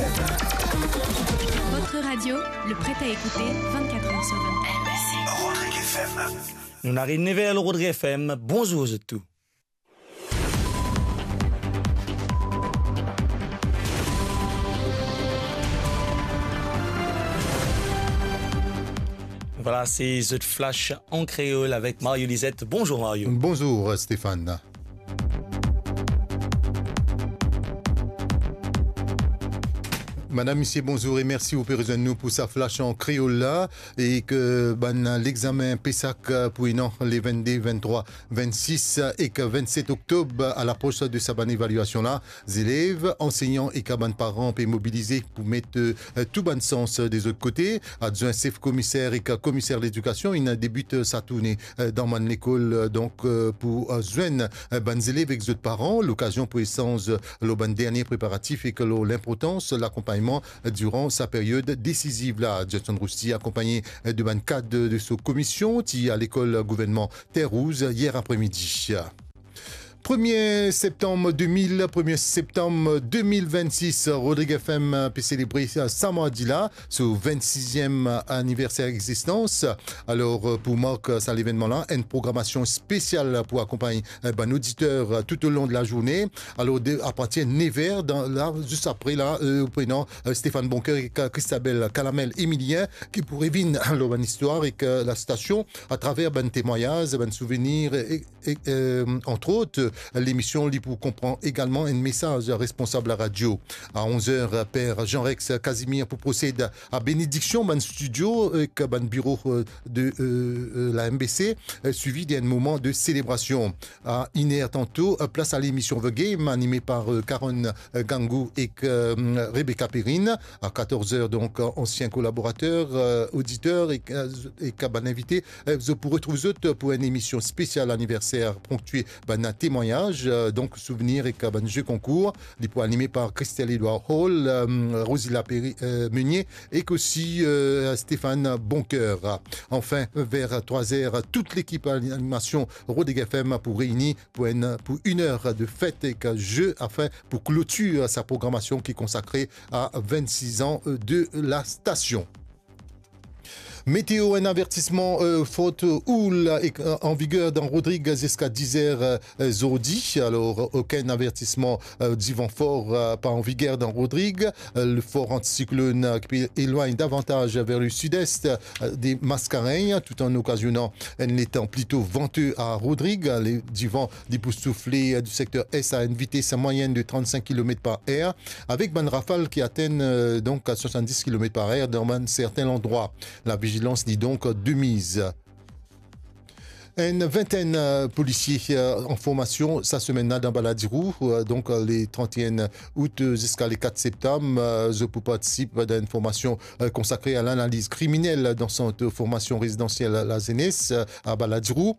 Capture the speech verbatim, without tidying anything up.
Votre radio, le prêt à écouter, vingt-quatre heures sur vingt-quatre. Rodrigues F M. Nou ariv nev er lor Rodrigues F M. Bonzour zot tou. Vwala, se zot Flash an kreol avek Mario Lizet. Bonzour Mario. Bonzour Stéphane. Madam, misie, bonzour e mersi ou pe rezoinn nou pou sa Flash an kreol la. E ke bann lexamen PESAC pou ena le vennde, venntrwa, vennsis ek vennset oktob, a lapros de sa bann evaliasion la, zelev, ansegnan ek bann paran pe mobilize pou met, eh, tou bann sans de zot kote. Adwin sef komiser ek komiser ledikasion inn debit sa tourne, eh, dan bann lekol, eh, donk, eh, pou, eh, zwenn, eh, bann zelev ek zot paran, lokazion pou esanz lor bann dernie preparatif ek lor linportans lakonpagnman diran sa period desiziv la. Johnson Rousty, akonpagne de bann kad de so komisie, ti lekol gouvernman Terre Rouge yer apremidi. Premie septam de mil, premie septam de mil vennsis, Rodrigues F M pe selebre sa mardi la so vennsiziem aniverser egzistans. Alor, pou mark sa levennman la, enn programasion spesial pou akonpagn bann oditer toutolong de lazourne. Alor, de, apartir nev er, dan, la, zis apre la, eh, ou pou ena, eh, Stéphane Boncoeur ek, eh, Christabel Calamel Emilien, ki pou revinn lor bann istwar ek, eh, lastasion, atraver bann temwagnaz, bann souvenir, e, e, eh, antrot, eh, lemision li pou konpran egalman enn mesaz responsab laradio. A onz er, eh, per Jean-Rex Casimir pou prosed a benediksion bann stidio ek bann biro, eh, de, eh, eh, la M B C, eh, swivi de enn moman de selebrasion. A inn er tanto, eh, plas a lemision The Game, anime par, eh, Karen, eh, Gangou ek, eh, Rebecca Perrine. A katorz er, donk, ansien kolaborater, eh, oditer ek, eh, ek bann invite, eh, zot pou retrouv zot pou enn emision spesial aniverser, ponktie bann temwagnaz, eh, donk souvenir ek bann ze konkour. Li pou anime par Christelle Edouard Hall, eh, Rosila Perry, eh, Meunier ek osi, eh, Stéphane Boncoeur. Anfin, ver trwa er, tout lekip animasion Rodrigues F M pou reini pou enn, pou enn er de fet ek ze, anfin, pou klotir sa programasion ki konsakre a vennsis an de lastasion. Meteo, enn avertisman, eh, forte houle, eh, an viger dan Rodrigues ziska diz er, eh, zordi. Alor, okenn avertisman, eh, divan for, eh, pa an viger dan Rodrigues. Eh, le for antisiklonn, eh, ki pe elwagn davantaz ver le sid-est, eh, de Mascarenhas, tout an okazionan enn letan plito vante a Rodrigues. Le, divan, li pou soufle, eh, di sekter est a enn vites mwayenn de trannsenk kilomet par er, avek bann rafal ki atenn, eh, donk, a swasanndis kilomet par er dan bann serten landrwa. Lavizilans li donk de miz. Enn vintenn, eh, polisie, eh, an formasion sa semenn la dan Baladiro, eh, donk, eh, le trant-e-enn out, eh, ziska le kat septam, eh, zot pou partisip dan enn formasion, eh, konsakre a lanaliz kriminel dan sant formasion rezidansiel lazenes, eh, a Baladiro.